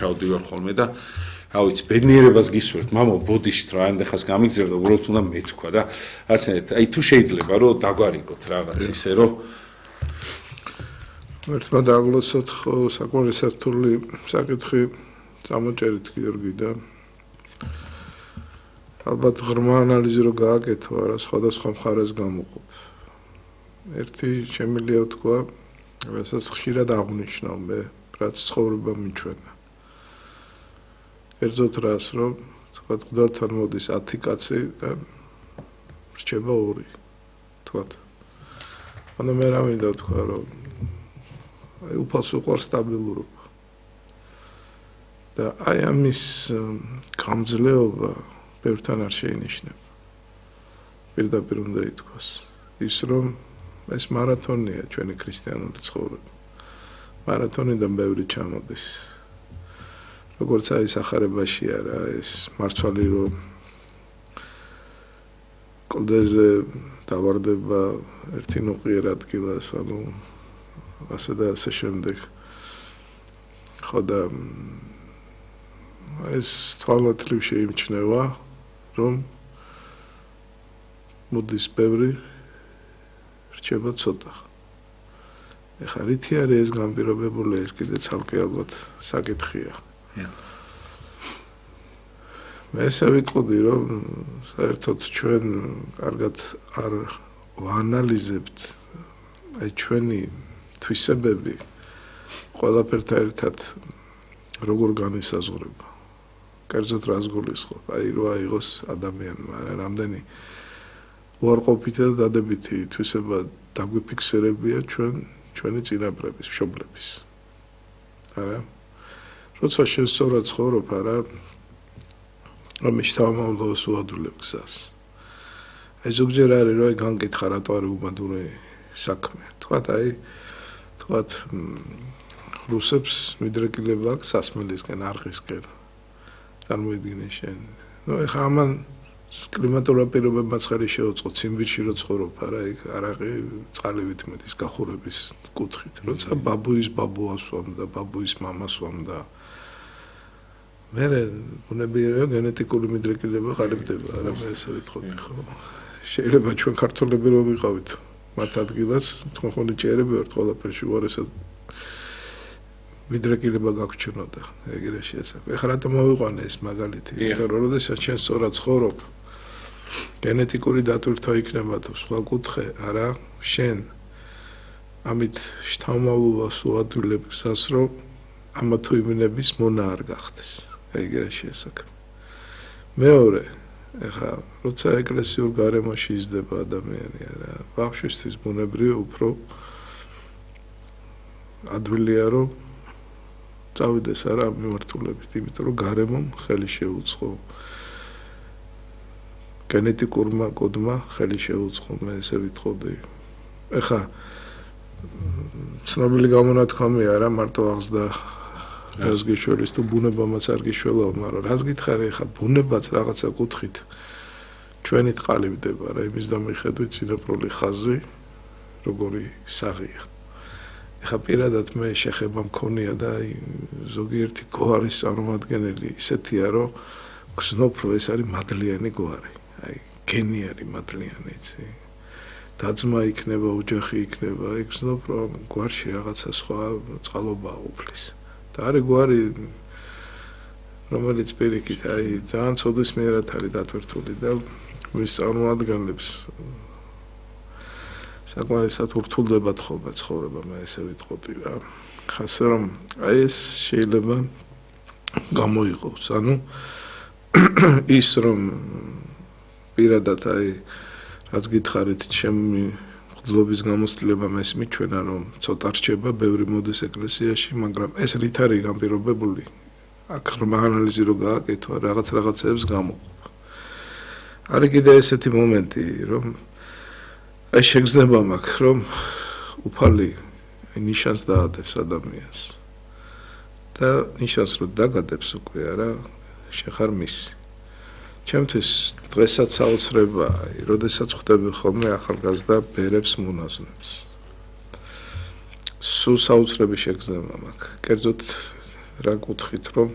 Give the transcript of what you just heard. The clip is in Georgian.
ჩავდივარ ხოლმე და რა ვიცი, ბედნიერებას გისურვებთ, მამა ბოდიშით რა ანდახას გამიგზავნა, უბრალოდ უნდა მეთქვა და რაცნაირად, აი თუ შეიძლება რომ დაგვარიგოთ რაღაც ისე რომ ერთმა დაგლოცოთ ხო საკმაოდ სართული საკითხი წამოჭერით გიორგი და ალბათ ღრმა ანალიზი რო გააკეთო, არა სხვადასხვა მხარეს გამოყოფ. ერთი შემიძლია თქვა, რასაც ხშირად აღნიშნავ მე, რაც ცხოვრება მიჩვენა. კერძოდ რას, რომ თქვა მღვდელთან მოდის 10 კაცი და რჩება 2. თქვა. ანუ მე რა მინდა თქვა, რომ აი უფალს უყვარს სტაბილურობა. და აი ამის გამძლეობა ბევრთან არ შეინიშნება. პირდაპირ უნდა ითქვას. ის რომ ეს მარათონია ჩვენი ქრისტიანული ცხოვრება. მარათონიდან ბევრი ჩამოდის. როგორც აი სახარებაში არა ეს მარცვალი რომ კლდეზე დავარდება ერთი ნუყიერ ადგილას, ანუ ასე და ასე შემდეგ. ხო და ეს თვალმოთლივ შეიმჩნევა, რომ მოდის ბევრი, რჩება ცოტა. ეხლა რითი არის ეს განპირობებული, ეს კიდე ცალკე ალბათ საკითხია. მე ესე ვიტყოდი, რომ საერთოდ ჩვენ კარგად არ ვაანალიზებთ აი ჩვენი თვისებები ყველაფერთან ერთად როგორ განისაზღვრება. კერძოდ რას გულისხმობ, აი რო აიღოს ადამიანმა, რამდენი უარყოფითი და დადებითი თვისება დაგვიფიქსირებია ჩვენი წინაპრების, მშობლების. არა? როცა შენ სწორად ცხოვრობ, არა, რომ შთამომავლობას უადვილებ გზას. აი ზოგჯერ არის რომ განგითხა რატო არის უბადური საქმე. თქვათ რუსებს მიდრეკილება აქვს სასმელისკენ, არყისკენ. წარმოიდგინე შენ. ნუ ეხა ამან კლიმატურ პირობებმაც ხელი შეუწყო ციმბირში რო ცხოვრობ, არა, იქ არაყი წყალივით მეტის გახურების კუთხით. როცა ბაბუის ბაბუას ვამდა, ბაბუის მამას ვამდა. მე ბუნებრივია გენეტიკური მიდრეკილება ყალიბდება, არა მე ესე ვიტყოდი, ხო? შეიძლება ჩვენ ქართველები რო ვიყავით მათ ადგილას, თქვენი ჭერები ვართ ყველაფერში უარესად მიდრეკილება გაგვჩნოდა, ეგრე შეესაბამება. ეხლა რატომ მოვიყვანე ეს მაგალითი? იმიტომ რომ როდესაც შენ სწორად ცხოვრობ, გენეტიკური დატვირთვა იქნება თუ სხვა კუთხე, არა, შენ ამით შთამომავლობას უადვილებ გზას, რომ ამა თუ იმენების მონა არ გახდეს. ეგრე შეესაბამება. მეორე, ეხლა როცა ეკლესიურ გარემოში იზრდება ადამიანი, არა, ბავშვისთვის ბუნებრივია უფრო ადვილია, რომ წავიდეს არა ამ მიმართულებით, იმიტომ რომ გარემომ ხელი შეუწყო. გენეტიკურმა კოდმა ხელი შეუწყო, მე ესე ვიტყოდი. ეხლა ცნობილი გამონათქვამია რა, მარტო აღზრდა რას გიშველის თუ ბუნებამაც არ გიშველაო, მაგრამ რას გითხარი, ეხლა ბუნებაც რაღაცა კუთხით ჩვენით ყალიბდება რა, იმის დამიხედვით სინოპრული ხაზი როგორი საღია. ეხლა პირადად მე შეხება მქონია და ზოგიერთი გვარის წარმომადგენელი ისეთია, რომ გზნობ, რომ ეს არის მადლიანი გვარი. აი, გენი არის მადლიანი, იცი. დაძმა იქნება, ოჯახი იქნება, აი გზნობ, რომ გვარში რაღაცა სხვა წყალობა უფლის. და არის გვარი, რომელიც პირიქით, აი, ძალიან ცოდნისმიერად არის დატვირთული და მის წარმომადგენლებს საკმარისად ურთულდებათ ხოლმე ცხოვრება, მე ესე ვიტყოდი რა. ხასე რომ აი ეს შეიძლება გამოიყოს, ანუ ის რომ პირადად აი რაც გითხარით, ჩემი მღვდლობის გამოცდილება მეს მიჩვენა, რომ ცოტა რჩება, ბევრი მოდის ეკლესიაში, მაგრამ ეს რით არის განპირობებული? აქ ღრმა ანალიზი რო გააკეთო, რაღაცებს გამოყოფ. არის კიდე ესეთი მომენტი, რომ აი შეგრძნება მაქვს, რომ უფალი ნიშანს დაადებს ადამიანს. და ნიშანს რო დაგადებს უკვე, არა, შეხარ მისი. ჩემთვის დღესაც საოცრებაა, როდესაც ხვდები ხოლმე ახალგაზრდა ბერებს მონაზვნებს. სულ საოცრები შეგრძნება მაქვს. კერძოდ რა კუთხით, რომ